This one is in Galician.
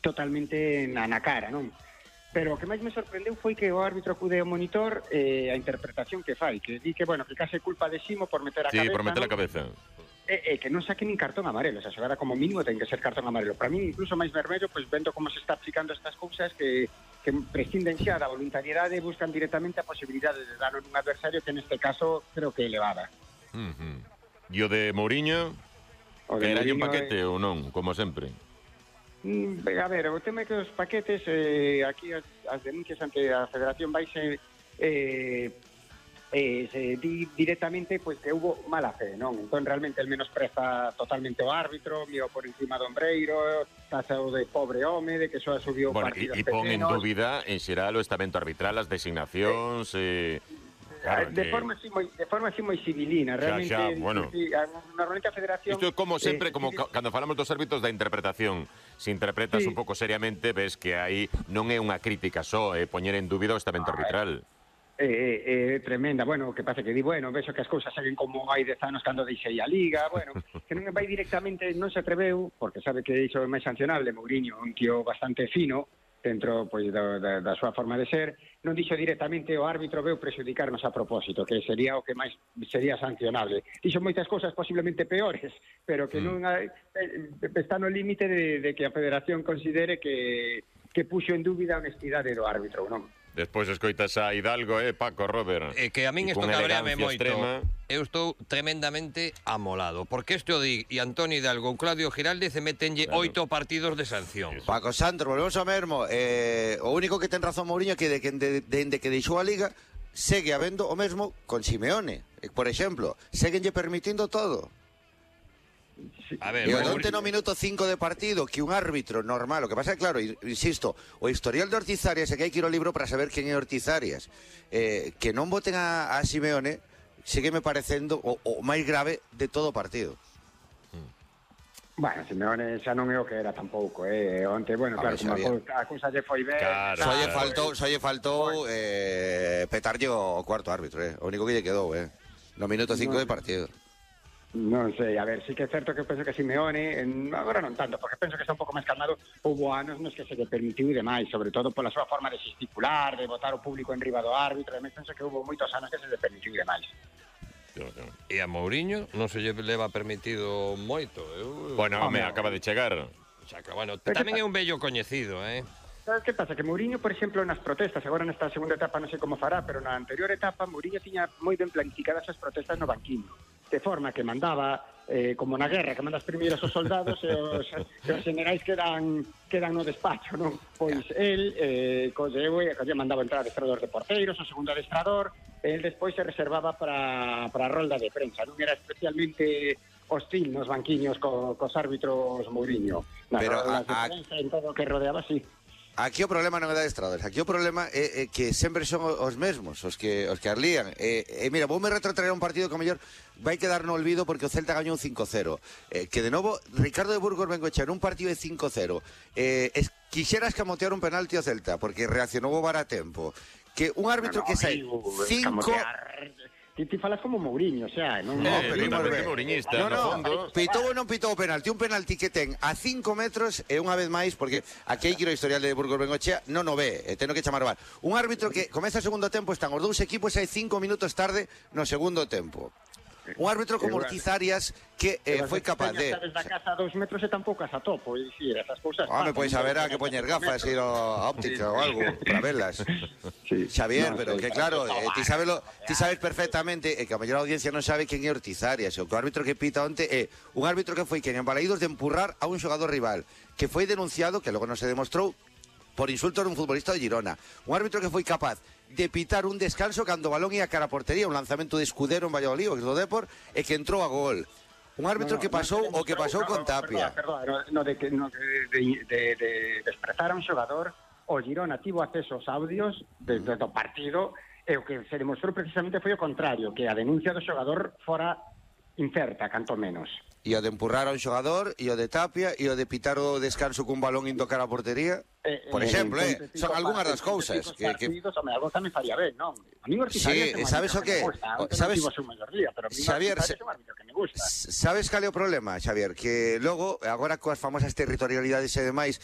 totalmente na cara, non? Pero o que máis me sorprendeu foi que o árbitro acude ao monitor a interpretación que fai, que di que, bueno, que case culpa de Simo por meter a cabeza. Sí, por meter a ¿no? cabeza. Que non saque nin cartón amarelo, o sea, xogada como mínimo ten que ser cartón amarelo. Para mí, incluso máis vermello, pois vendo como se está aplicando estas cousas que prescinden xa da voluntariedade e buscan directamente a posibilidade de dar un adversario que neste caso creo que é elevada. E o de Mourinho, que era un paquete ou non, como sempre? A ver, o tema é que os paquetes, aquí as denuncias ante a Federación vaise se di directamente pois que hubo mala fe, non? Entón realmente el menospreza totalmente o árbitro, mío por encima do ombreiro, taxao de pobre home, de que só subiu partidos pequenos. E pon en dúbida en xeral o estamento arbitral, as designacións, claro, de forma así moi civilina, realmente. Xa, bueno. Sí, normalmente a Federación... Isto é como sempre, como cando falamos dos árbitros da interpretación. Se interpretas un pouco seriamente, ves que aí non é unha crítica só, é poñer en dúbida o estamento arbitral. Tremenda, bueno, que pasa que di, bueno, vexo que as cousas seguen como hai 10 anos cando deixei a Liga, bueno, que non vai directamente, non se atreveu, porque sabe que iso é máis sancionable, Mourinho, un tío bastante fino, dentro pois da súa forma de ser, non dixo directamente o árbitro veu prexudicarnos a propósito, que sería o que máis sería sancionable. Dixo moitas cousas posiblemente peores, pero que non está no límite de que a Federación considere que puxo en dúbida a honestidade do árbitro, non? Despois escoitas a Hidalgo, Paco, Robert. Que a min isto cabreame moito. Eu estou tremendamente amolado. Porque este o di e Antonio Hidalgo, Claudio Giraldez se metenlle 8 partidos de sanción. Paco Sandro, volvemos ao mesmo. O único que ten razón Mourinho é que dende que deixou a Liga segue habendo o mesmo con Simeone. Por exemplo, seguenlle permitindo todo. A ver, e onte no minuto 5 de partido que un árbitro normal, o que pasa é claro, insisto, o historial de Ortiz Arias é que hai que ir ao libro para saber quen é Ortiz Arias, que non voten a Simeone sígueme parecendo o máis grave de todo o partido. Bueno, Simeone xa non é o que era tampouco, onte, bueno, claro, como a cousa lle foi ben, só lle faltou petarlle o cuarto árbitro, o único que lle quedou, no minuto 5 de partido. Non sei, a ver, sí que é certo que penso que Simeone, agora non tanto, porque penso que está un pouco máis calmado, houve anos nos que se lle permitiu demais, sobre todo pola súa forma de gesticular, de botar o público en riba do árbitro, e penso que houve moitos anos que se lle permitiu demais. E a Mourinho non se lle leva permitido moito. Bueno, acaba de chegar. Bueno, tamén é un vello coñecido, Sabes que pasa? Que Mourinho, por exemplo, nas protestas, agora nesta segunda etapa non sei como fará, pero na anterior etapa Mourinho tiña moi ben planificadas as protestas no banquiño, de forma que mandaba, como na guerra, que mandas primeiros os soldados e os generais quedan no despacho, non? Pois el mandaba entrar adestrador de porteiros, o segundo adestrador, el despois se reservaba para a rolda de prensa, non era especialmente hostil nos banquiños cos árbitros Mourinho. Pero roldas de prensa, en todo o que rodeaba, sí. Aquí o problema non é de adestradores, aquí o problema é que sempre son os mesmos os que arlían. Mira, voume retrotraer un partido que a mellor vai quedar no olvido porque o Celta gañou 5-0. Que de novo, Ricardo de Burgos Bengoechea nun partido de 5-0 quixera escamotear un penalti ao Celta porque reaccionou o VAR a tempo. Que un árbitro que sai 5... Ti falas como Mourinho, xa, non? Pero tamén é mouriñista, no fondo. Pitou ou non pitou o penalti? Un penalti que ten a 5 metros e unha vez máis, porque aquí hai que ir ao historial de Burgos Bengoechea, non o ve, teno que chamar o VAR. Un árbitro que comeza o segundo tempo, están os dous equipos e hai 5 minutos tarde no segundo tempo. Un árbitro como Ortiz Arias que foi capaz de... Sabes da casa a 2 metros e tampouco as atopo, e dicir, esas cousas... Home, pois haberá que poñer gafas, ir a óptica ou algo, para velas. Xavier, pero que claro, ti sabes perfectamente, e que a mellor audiencia non sabe quen é Ortiz Arias, o árbitro que pita onte é un árbitro que foi quen en Balaídos de empurrar a un xogador rival, que foi denunciado, que logo non se demostrou, por insultos dun futbolista de Girona. Un árbitro que foi capaz de pitar un descanso cando o balón ia cara a portería, un lanzamento de Escudero en Valladolid, o do Depor, e que entrou a gol. Un árbitro que pasou o que pasou con Tapia. No de desprezar a un xogador, o Girona tivo acceso aos audios do partido, e o que se demostrou precisamente foi o contrario, que a denuncia do xogador fora incerta, canto menos. E o de empurrar a un xogador, e o de Tapia, e o de pitar o descanso cun balón indo cara a portería. Por exemplo, son algunhas das cousas que algo tamén faría ben, non? A mí Ortiz Arias sabes o que? Sabes, Xavier, sabes cal é o problema, Xavier? Que logo, agora coas famosas territorialidades e demais,